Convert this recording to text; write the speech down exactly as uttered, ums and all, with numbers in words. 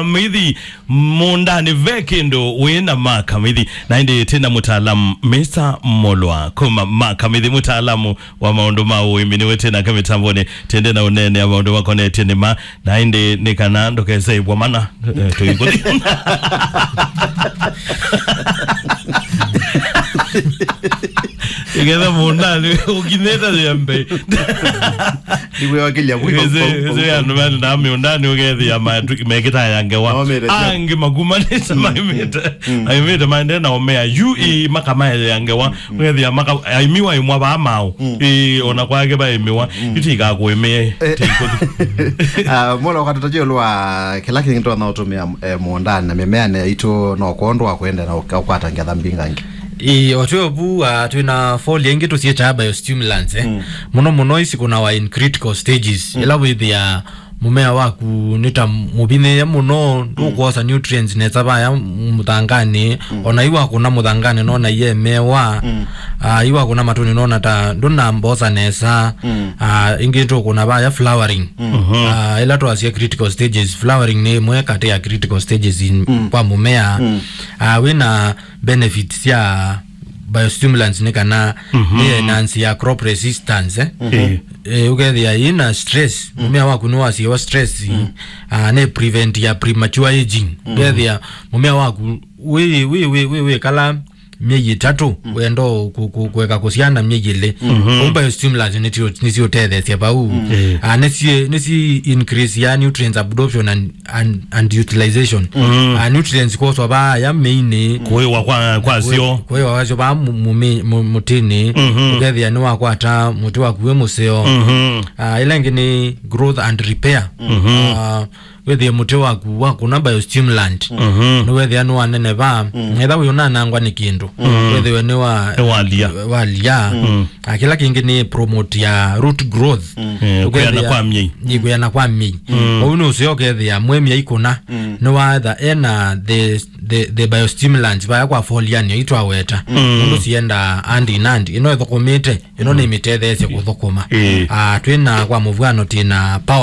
Makamithi, mũũndanĩ ve kĩndũ wĩ na Makamithi. Na ĩndĩ twĩ na mũtaalamu, Mister Molwa, kuma Makamithi, mũtaalamu wa maũndũ ma ũĩmi, nĩwe twĩ nake mĩtambonĩ. Twende na ũneenea maũndũ makonetye nĩma. Na ĩndĩ nĩ kana ndũkese ĩvwa mana, eh, tũikũthi. Ĩgetha mũũndanĩ ũkinyĩte yembe. Nĩwĩwakĩlya mwĩko. Ĩsĩ, ĩsĩ andũ mena mĩũndanĩ ũkethĩa matu-, mekĩta ya ngewa. Maũmĩte sio. Angĩ makumanĩte maimĩte. Aimĩte maende na omea. Yu ĩ makamae ya ngewa. Ũkethĩa maka-, aimiwa imwa vaa mao. Ĩ, ona kwake vaimiwa. Yu tĩikakwĩmĩe. Eh. Tĩikũthi. Ah, mwana wakatũtajia ũlũ wa kĩla kĩngĩ twana ũtũmĩa, eh, mũũndanĩ na mĩmeanĩ yaitũ no kwondũ wa kwenda na ũka-, ũkwata ngetha mbingangĩ. Ĩĩ, o twĩ ovu, ah, twĩ na foliar ingĩ tũsyĩtaa biostimulants, eh. Mũno mũno isi kũnawa in critical stages. Ĩla wĩthĩa mũmea waku nĩ ta mũvinyĩĩe mũno, ndũkwosa nutrients nesa vaya mũthanganĩ, ona iwakũna mũthanganĩ nona iyemewa, ah, iwakũna matũnĩ nona ta ndũnambosa nesa, ah, ingĩ tũkũna vaya flowering. Ah, ĩla twasya critical stages, flowering nĩ ĩmwe katĩ ya critical stages in, kwa mũmea. Ah, wĩna benefits sya biostimulants nĩ kana nĩ enhance ya crop resistance, eh. Eh, ũkethĩa ĩna stress, mũmea waku nĩ wasiwa stress, ah, nĩ prevent ya premature aging. Ũkethĩa mũmea waku wĩ, wĩ, wĩ, wĩ, wĩ kala myei ĩtatũ, wenda kũ-, kũ-, kũeka kũsyana myei ĩlĩ. Ũu biostimulants nĩsyo, nĩsiũtetheesya vau. Ah, nĩsi, nĩsi increase ya nutrients absorption and and, and utilization. Ah, nutrients kwoswa vaya mĩinĩ. Kũĩwa kwa, kwa syo. Kũĩwa kwa syo vaa mu-, mumi-, mu-, mũtĩnĩ. Ũkethĩa nĩwakwata mũtĩ waku wĩ mũseo. Ah, ĩla ĩngĩ nĩ growth and repair. Ah, wĩthĩe mũtĩ waku wakũna biostimulant. Nĩwethĩa nĩwaneneva. Etha wĩ ũnanangwa nĩ kĩndũ. Wĩthĩwe nĩwa-, Nĩwalia. Walia. Ah, kĩla kĩngĩ nĩ promote ya root growth. Eh, ũkethĩa kwĩana kwa myei. Nĩ kwĩana kwa myei. Ũu nĩ ũseo ũkethĩa mwe myei kũna. Nĩwaetha ena the, the, the biostimulants vaya kwa foliar nĩ itwaweta. Ũndũ sienda hand in hand. Ĩno ĩthũkũmĩte, ĩno nĩ mĩtetheesye kũthũkũma. Ah, twĩna kwa mũvwano twĩna power